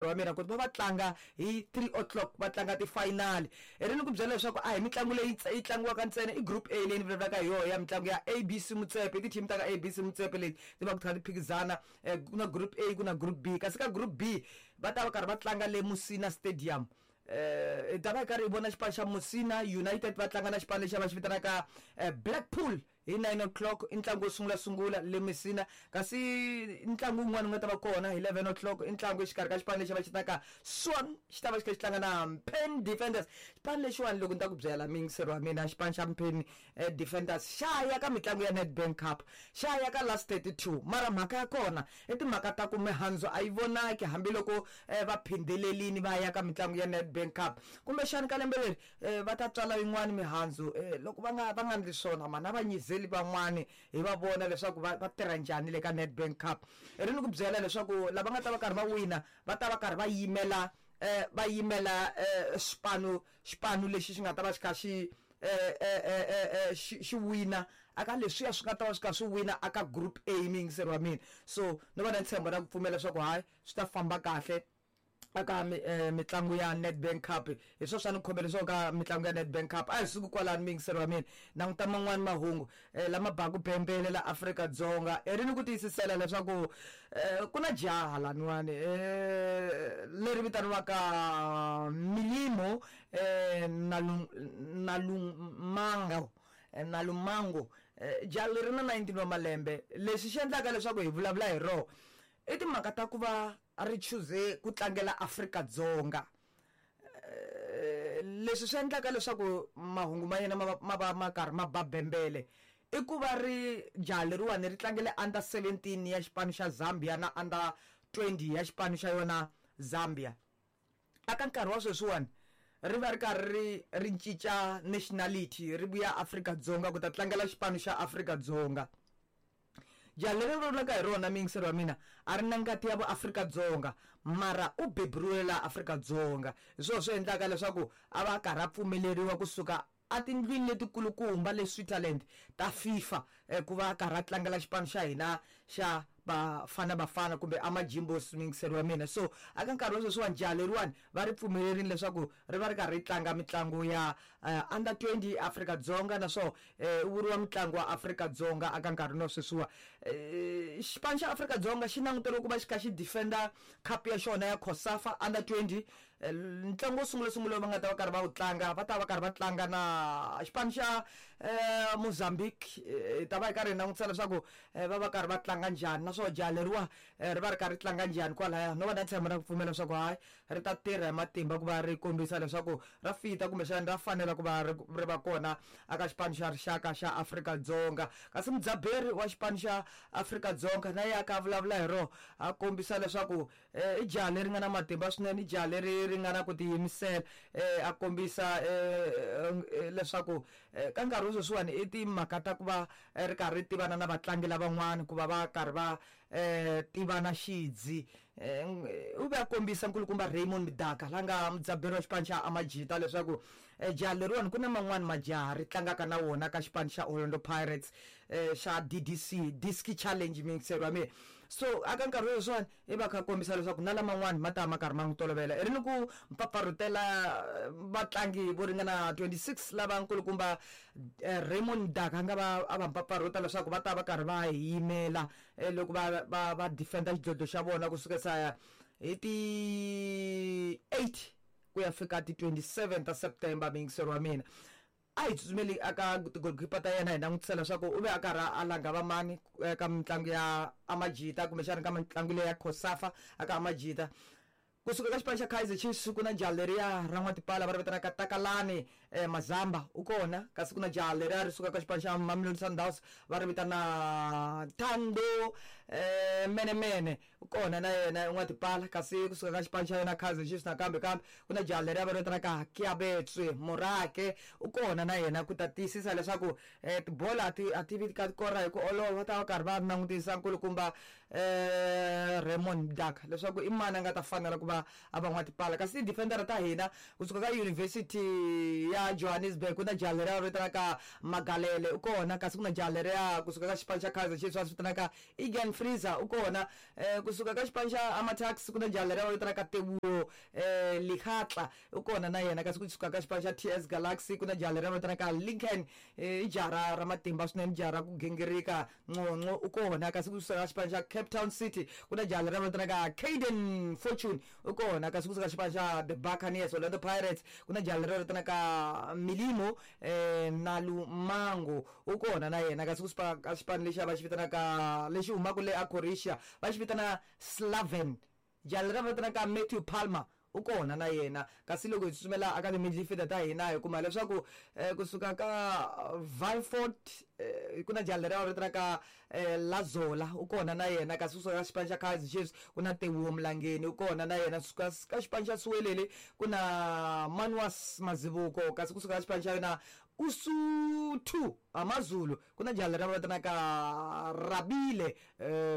Wa mina ku va va tlanga hi 3 o'clock, va tlanga ti-final. I ri ni ku byela leswaku a hi mitlangu leyi yi tlangiwaka ntsena, i group A leyi ni vulavulaka hi yona ya mitlangu ya ABC Motsepe. I ti-team ta ka ABC Motsepe leti ti va ti kha ti phikizana. Ku na group A, ku na group B, kasi ka group B va ta va karhi va tlanga le Musina Stadium. Hi ta va hi karhi hi vona xipano xa Musina United va tlanga na xipano lexi va xi vitanaka Blackpool hi 9 o'clock, i ntlangu wo sungula sungula le Messina. Kasi ntlangu wun'wana wu nga ta va kona hi 11 o'clock, i ntlangu exikarhi ka xipano lexi va xi vitanaka Swan, xi ta va xi kha xi tlanga na Mpheni Defenders. Xipano lexiwani loko ni ta ku byela muyingiseri wa mina, xipano xa Mpheni Defenders xa ya ka mitlangu ya Nedbank Cup, xa ya ka last 32, mara mhaka ya kona i timhaka ta ku mihandzu a yi vonaki hambiloko va phindhelelini va ya ka mitlangu ya Nedbank Cup. Kumbexani ka lembe leri va ta tswala yin'wani mihandzu. Loko va nga va nga ndli swona mani, a va nyizeli van'wani hi va vona leswaku va va tirha njhani le ka Nedbank Cup. I ri ni ku byela leswaku lava nga ta va karhi va wina va ta va karhi va yimela va yimela xipano xipano lexi xi nga ta va xi kha xi xi xi wina aka leswiya swi nga ta va swi kha swi wina aka group A, muyingiseri wa mina. So ni va na ntshembo na ku pfumela leswaku hayi, swi ta famba kahle aka mitlangu ya Nedbank Cup. Hi swona swa ni khomele swo ka mitlangu ya Nedbank Cup. A hi suki kwalano, muyingiseri wa mina, languta man'wani mahungu lama baku bembele la Afrika-Dzonga. I ri ni ku tiyisisela leswaku ku na jaha laniwani leri vitaniwaka Milimo Nalumango Nalumango. Jaha leri na 19 wa malembe. Lexi xi endlaka leswaku hi vulavula hi roho i timhaka ta ku va ri chuze ku tlangela Afrika-Dzonga. Leswi swi endlaka leswaku mahungu ma yena ma va ma va ma karhi ma ba bembele i ku va ri jaha leriwani ri tlangele under 17 ya xipano xa Zambia na under 20 ya xipano xa yona Zambia. Aka nkarhi wa sweswiwani ri va ri karhi ri ri cinca nationality, ri vuya Afrika-Dzonga ku ta tlangela xipano xa Afrika-Dzonga. Jaha leri ni vulavulaka hi rona, muyingiseri wa mina, a ri na ngati ya vuAfrika-Dzonga, mara u beburiwile laha Afrika-Dzonga. Hi swona swi endlaka leswaku a va a karhi a pfumeleriwa kusuka etindlwini letikulukumba le Switzerland ta FIFA ku va a karhi a tlangela xipano xa hina xa Bafana Bafana kumbe Amajimbos, muyingiseri wa mina. So aka nkarhi wa sweswiwani jaha leriwani va ri pfumelerile leswaku ri va ri karhi ri tlanga mitlangu ya under 20 Afrika-Dzonga, naswona u vuriwa mutlangi wa Afrika-Dzonga aka nkarhi wa sweswiwa. Xipano xa Afrika-Dzonga xi languteriwe ku va xi kha xi defender cup ya xona ya COSAFA under 20. Ntlangu wo sungula sungula lowu va nga ta va karhi va wu tlanga, va ta va karhi va tlanga na xipano xa Mozambique. Hi ta va hi karhi hi langutisa leswaku va va karhi va tlanga njhani, naswona jaha leriwa ri va ri karhi ri tlanga njhani kwalaya. No va na ntshembo na ku pfumela leswaku hayi, ri ta tirha hi matimba ku va ri kombisa leswaku ra fita kumbexana ra fanela ku va ri ri va kona aka xipano xa rixaka xa Afrika-Dzonga. Kasi mudzaberi wa xipano xa Afrika-Dzonga na yena a ka a vulavula hi rona, a kombisa leswaku i jaha leri nga na matimba swinene, i jaha leri ri nga na ku tiyimisela. A kombisa leswaku ka nkarhi wa sweswiwani i timhaka ta ku va ri karhi ri tivana na vatlangi lavan'wana, ku va va karhi va tivana xidzi. U ve a kombisa nkulukumba Raymond Mdaka la nga mudzaberi wa xipano xa Amajita leswaku jaha leriwani ku na man'wani majaha ri tlangaka na wona ka xipano xa Orlando Pirates xa DDC Diski Challenge, muyingiseri wa mina. So aka nkarhi wa sweswiwani i va kha kombisa leswaku na laman'wani ma ta ma karhi ma n'wi tolovela. I ri ni ku mpfapfarhutela vatlangi vo ringana 26 lava nkulukumba Raymond Mdaka a nga va a va mpfapfarhuta leswaku va ta va karhi va hi yimela loko va va va defender xidlodlo xa vona kusukela hi ti 8 ku ya fika ti 27 ta September, muyingiseri wa mina. A hi tsutsumeli aka ti-goalkeeper ta yena hi langutisa leswaku u ve a karhi a langa va mani eka mitlangu ya Amajita kumbexana ka mitlangu leyi ya COSAFA aka Amajita. Kusuka ka xipano xa Kaizer Chiefs ku na jaha leriya ra n'watipala va ri vitanaka Takalani Mazamba u kona, kasi ku na jaha leriya ri sukaka ka xipano xa Mamelodi Sundowns va ri vitana Thando Menemene u kona na yena n'watipala, kasi kusuka ka xipano xa yona Kaizer Chiefs nakambe kambe ku na jaha leriya va ri vitanaka Keabetswe Morake u kona na yena ku ta tiyisisa leswaku tibolo a ti a ti vi ka kora hi ku olova. Va ta va karhi va langutisa nkulukumba Raymond Mdaka leswaku i mani a nga ta fanela ku va a va n'watipala. Kasi ti-defender ta hina kusuka ka University ya Johannesburg ku na jaha leriya va vitanaka Magalele u kona, kasi ku na jaha leriya kusuka ka xipano xa Kaizer Chiefs va swi vitanaka Egan. Freezer u kona. Kusuka ka xipano xa Amatax ku na jaha leriya va vitanaka Teboho Likhatla u kona na yena. Kasi kusuka ka xipano xa TS Galaxy ku na jaha leriya va vitanaka Lincoln, i jaha ra matimba swinene, jaha ra ku gingirika, Nqonqo u kona. Kasi kusuka ka xipano xa Cape Town City ku na jaha leriya va vitanaka Caden Fortune u kona. Kasi kusuka xipano xa The Buccaneers, Orlando Pirates, ku na jaha leriya va vitanaka Milimo Nalumango u kona na yena. Kasi kusuka ka xipano lexiya va xi vitanaka lexi humaka le a Croatia va xi vitana Slaven, jaha leriya va vitanaka Matthew Palmer u kona na yena. Kasi loko hi tsutsumela aka ti-midfielder ta hina hi kuma leswaku kusuka ka Vilfort ku na jaha leriya va vitanaka Lazola u kona na yena. Kasi kusuka ka xipano xa Kaizer Chiefs ku na Teboho Mlangeni u kona na yena. Kusuka ka xipano xa Siwelele ku na Manuas Mazibuko. Kasi kusuka ka xipano xa yona Usuthu AmaZulu ku na jaha leriya va vitanaka Rabile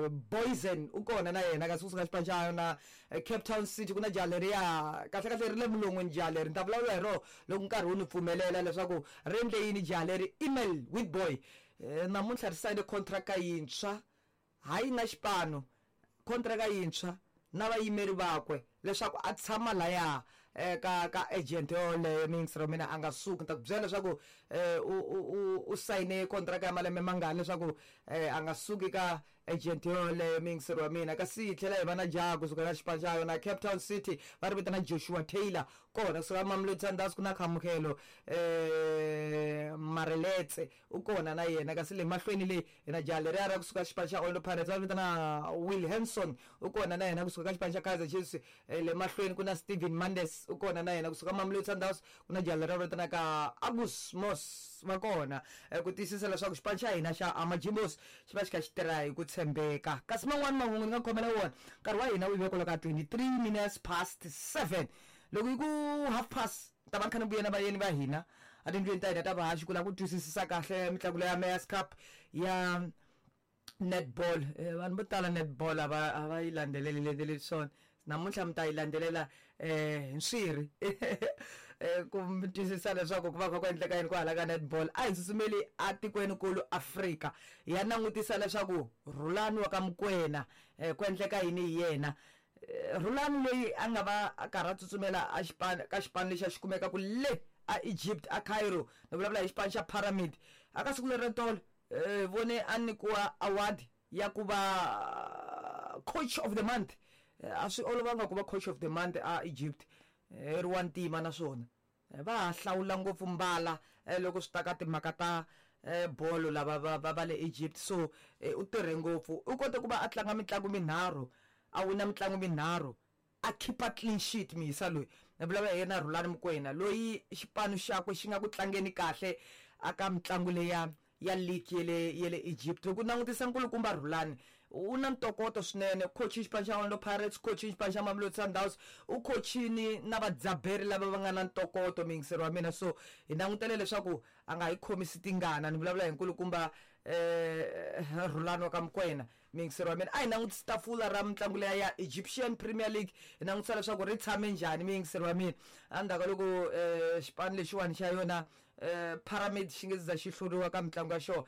Boysen u kona na yena. Kasi kusuka xipano xa yona Cape Town City ku na jaha leriya, kahle kahle ri le mulon'weni jaha leri, ni ta vulavula hi rona loko nkarhi wu ni pfumelela leswaku ri endle yini jaha leri. Email Witboy namuntlha ri sayine contract yintshwa, hayi na xipano, contract yintshwa na vayimeri vakwe leswaku a tshama laya ka agent yoleyo. Miyingiseri wa mina a nga suki, ni ta ku byela leswaku u sayine contract ya malembe mangani leswaku a nga suki ka agent yoleyo, miyingiseri wa mina. Kasi hi tlhela hi va na jaha kusuka ka xipano xa yona Cape Town City va ri vitana Joshua Taylor kona. Kusuka Mamelodi Sundowns ku na Khamukelo Mareletse u kona na yena. Kasi le mahlweni le hi na jaha leriya ra kusuka xipano xa Orlando Pirates va vitana Will Hanson u kona na yena. Kusuka ka xipano xa Kaizer Chiefs le mahlweni ku na Steven Mandes u kona na yena. Kusuka Mamelodi Sundowns ku na jaha leriya va vitanaka Agus Mos va kona, ku tiyisisa leswaku xipano xa hina xa Amajimbos xi va xi kha xi tirha hi ku tshembeka. Kasi man'wani mahungu ni nga khomela wona, nkarhi wa hina wu yive kwala ka 23 minutes past 7. Loko yi ku half past ta va ni kha ni vuya na vayeni va hina a tindlwini ta hina ta vahaxi ku lava ku twisisisa kahle mitlangu leya Mayors Cup ya netball. Vanhu vo tala netball a va a va yi landzeleli landzeleli swona, namuntlha mi ta yi landzelela hi nswiri ku mi twisisa leswaku ku va kha ku endleka yini kwahala ka netball. A hi tsutsumeli a tikweni kulu Afrika hi ya langutisa leswaku Rhulani wa ka Mokoena ku endleka yini hi yena. Rhulani loyi a nga va a karhi a tsutsumela a xipano ka xipano lexi a xi kumeka ku le a Egypt a Cairo, ni vulavula hi xipano xa Pyramid. A ka siku leri ra tolo vone a nyikiwa award ya ku va coach of the month. A swi olovanga ku va coach of the month a Egypt, ri wa ntima naswona va ha hlawula ngopfu mbala loko swi ta ka timhaka ta bolo lava va va va le Egypt. So u tirhe ngopfu, u kote ku va a tlanga mitlangu minharhu, a wina mitlangu minharhu, a khipa clean sheet. Miyisa loyi ni vulavula hi yena Rhulani Mokwena loyi xipano xakwe xi nga ku tlangeni kahle aka mitlangu leya ya league yele yele Egypt. Loko u langutisa nkulukumba Rhulani u na ntokoto swinene, coach xipano xa Orlando Pirates, coach xipano xa Mamelodi Sundowns, u coachini na vadzaberi lava va nga na ntokoto, miyingiseri wa mina. So hi langutele leswaku a nga hi khomisi tingana. Ni vulavula hi nkulukumba Rhulani wa ka Mokwena, miyingiseri wa mina. A hi langutisi tafula ra mitlangu leya ya Egyptian Premier League, hi langutisa leswaku ri tshame njhani, miyingiseri wa mina. Endzhaku ka loko xipano lexiwani xa yona Pyramid xi nge za xi hluriwa ka mitlangu ya xona,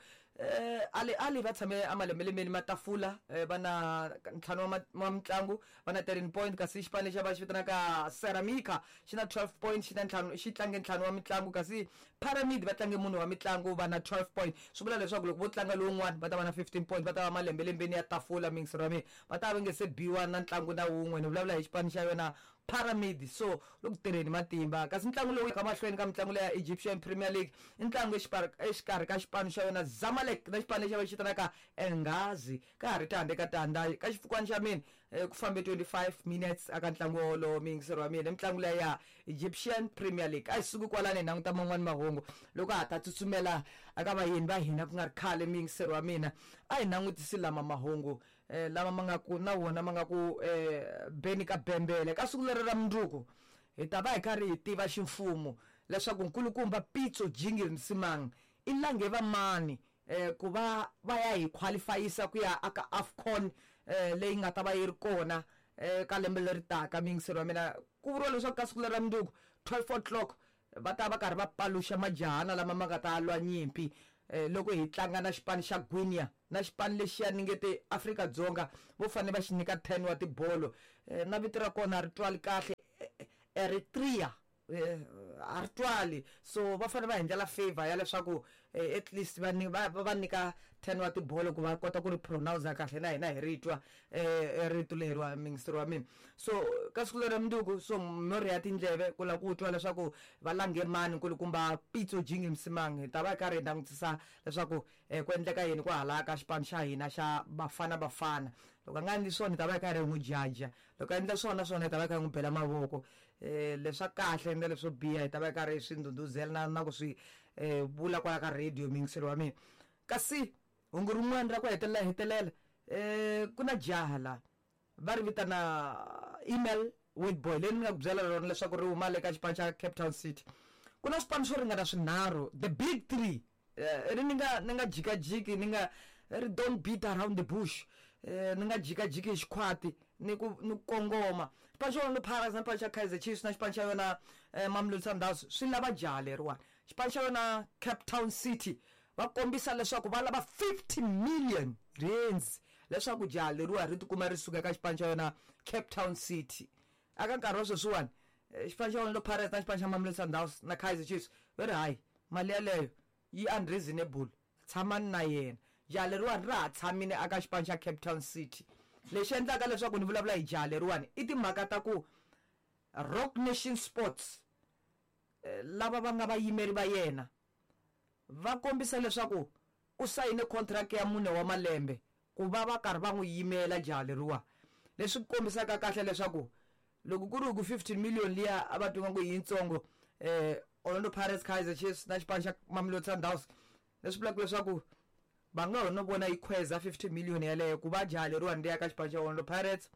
Ali Ali va tshame amalembelemeni matafula, va na ntlhanu wa mitlangu, va na 13 point. Kasi xipano lexi va xi vitanaka Ceramica xi na 12 point, xi na ntlhanu, xi tlange ntlhanu wa mitlangu. Kasi Pyramid va tlange mune wa mitlangu, va na 12 point. Swi vula leswaku loko vo tlanga lowun'wana va ta va na 15 point, va ta va malembelembeni ya tafula, miyingiseri wa mina, va ta va nge se biwa na ntlangu na wun'we. Ni vulavula hi xipano xa yona Pyramid, so loko tirheni matimba. Kasi ntlangu lowu ka mahlweni ka mitlangu leya Egyptian Premier League i ntlangu exikarhi ka xipano xa yona Zamalek na xipano lexi va xi vitanaka Engazi. Ka ha ri tandza eka tandza ka xifukwana xa mina, ku fambe 25 minutes aka ntlangu wolowo, miyingiseri wa mina, i mitlangu leya ya Egyptian Premier League. A hi suki kwalani hi languta man'wani mahungu loko ha ta tsutsumela aka vayeni va hina ku nga ri khale, miyingiseri wa mina. A hi langutisi lama mahungu lama ma nga ku na wona ma nga ku beni ka bembele. Ka siku leri ra mundzuku hi ta va hi karhi hi tiva ximfumo leswaku nkulukumba Pitso Jingil Msimang i lange va mani ku va va ya hi qualifyisa ku ya aka AFCON leyi nga ta va yi ri kona ka lembe leri taka. Miyingiseri wa mina, ku vuriwa leswaku ka siku leri ra mundzuku 12 o'clock va ta va karhi va paluxa majahana lama ma nga ta lwa nyimpi loko hi tlanga na xipano xa Guinea. Na xipano lexiya ni nge te Afrika-Dzonga vo fanele va xi nyika 10 wa tibolo. Na vito ra kona a ri twali kahle, Eritrea a ri twali. So va fanele va hi endlela favor ya leswaku at least va va va nyika 10 wa tibolo ku va kota ku ri pronounce kahle na hina hi ri twa rito leriwa, muyingiseri wa mina. So ka siku lera mundzuku, so mo rhiya tindleve ku lava ku twa leswaku va lange mani nkulukumba Pitso Jingi Msimang. Hi ta va hi karhi hi langutisa leswaku ku endleka yini kwahala ka xipano xa hina xa Bafana Bafana. Loko a nga endli swona hi ta va hi karhi hi n'wi jaja, loko a endla swona swona hi ta va hi kha hi n'wi bela mavoko. Leswa kahle na leswo biha hi ta va hi karhi hi swi ndhundhuzela na ku swi vula kwala ka radio, muyingiseri wa mina. Kasi hungu rin'wana ra ku hetelela hetelela, ku na jaha la va ri vitana Email Witbooi, leyi ni nga ku byela rona leswaku ri huma le ka xipano xa Cape Town City. Ku na swipano swo ringana swinharhu, the big three. Ri ni nga jikajiki, ni nga ri don't beat around the bush, ni nga jikajiki hi xikhwati, ni ku kongoma. Xipano xa Orlando Pirates na xipano xa Kaizer Chiefs na xipano xa yona Mamelodi Sundowns swi lava jaha leriwani. Xipano xa yona Cape Town City va kombisa leswaku va lava 50 million rands leswaku jaha leriwa ri tikuma ri suka eka xipano xa yona Cape Town City. Aka nkarhi wa sweswiwani, xipano xa Orlando Pirates na xipano xa Mamelodi Sundowns na Kaizer Chiefs va ri hayi, mali yaleyo yi unreasonable, tshamani na yena. Jaha leriwani ra ha tshamile aka xipano xa Cape Town City. Lexi endlaka leswaku ni vulavula hi jaha leriwani i timhaka ta ku Roc Nation Sports, lava va nga vayimeri va yena, va kombisa leswaku u sayine contract ya 4 wa malembe ku va va karhi va n'wi yimela jaha leriwa, leswi kombisaka kahle leswaku loko ku ri ku 15 million liya a va twa ku i yitsongo, Orlando Pirates, Kaizer Chiefs na xipano xa Mamelodi Sundowns, leswi vulaka leswaku va nga ho no vona yi khweza 50 million yaleyo ku va jaha leriwani ri ya ka xipano xa Orlando Pirates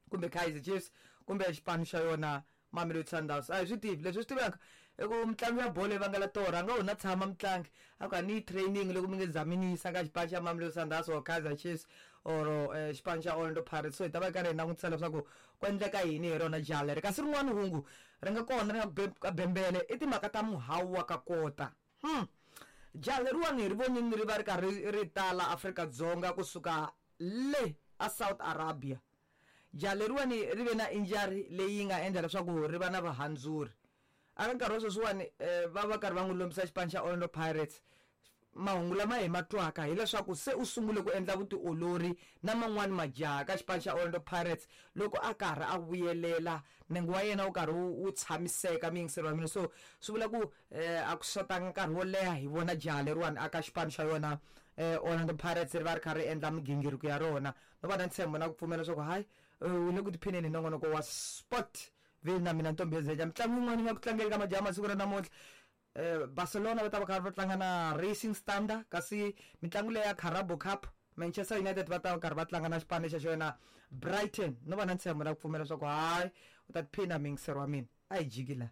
kumbe Kaizer Chiefs kumbe xipano xa yona Mamelodi Sundowns. A hi swi tivi. Leswi swi tivaka i ku mitlangu ya bolo yi vangela torha. A nga ho na tshama mutlangi a ku a ni yi training loko mi nge zami ni yisa ka xipano xa Mamelodi Sundowns or Kaizer Chiefs or xipano xa Orlando Pirates. So hi ta va hi karhi hi langutisa leswaku ku endleka yini hi rona jaha leri. Kasi rin'wana hungu ri nga kona ri nga ka bembele i timhaka ta muhawu wa ka kota. Jaha leriwani hi ri vonini ri va ri karhi ri tala Afrika-Dzonga kusuka le a South Arabia. Jaha leriwani ri ve na injury leyi nga endla leswaku ri va na vahandzuri. Aka nkarhi wa sweswiwani, va va karhi va n'wi lombisa xipano xa Orlando Pirates. Mahungu lama hi ma twaka hileswaku se u sungule ku endla vutiolori na man'wani majaha ka xipano xa Orlando Pirates loko a karhi a vuyelela, nenge wa yena wu karhi wu tshamiseka, muyingiseri wa mina. So swi vula ku a ku xotanga nkarhi wo leha hi vona jaha leriwani aka xipano xa yona Orlando Pirates ri va ri kha ri endla migingiriko ya rona. No va na ntshembo na ku pfumela leswaku hayi, u le ku tiphineni hi nongonoko wa Sport Ville na mina Ntombi Zeja. Mitlangu yin'wana yi nga ku tlangeni ka majaha masiku ra namuntlha, Barcelona va ta va karhi va tlanga na Racing Standard, kasi mitlangu leyi ya Carabao Cup, Manchester United va ta va karhi va tlanga na xipano xa xona Brighton. No va na ntshembo na ku pfumela leswaku hayi, u ta tiphina, muyingiseri wa mina. A hi jiki la.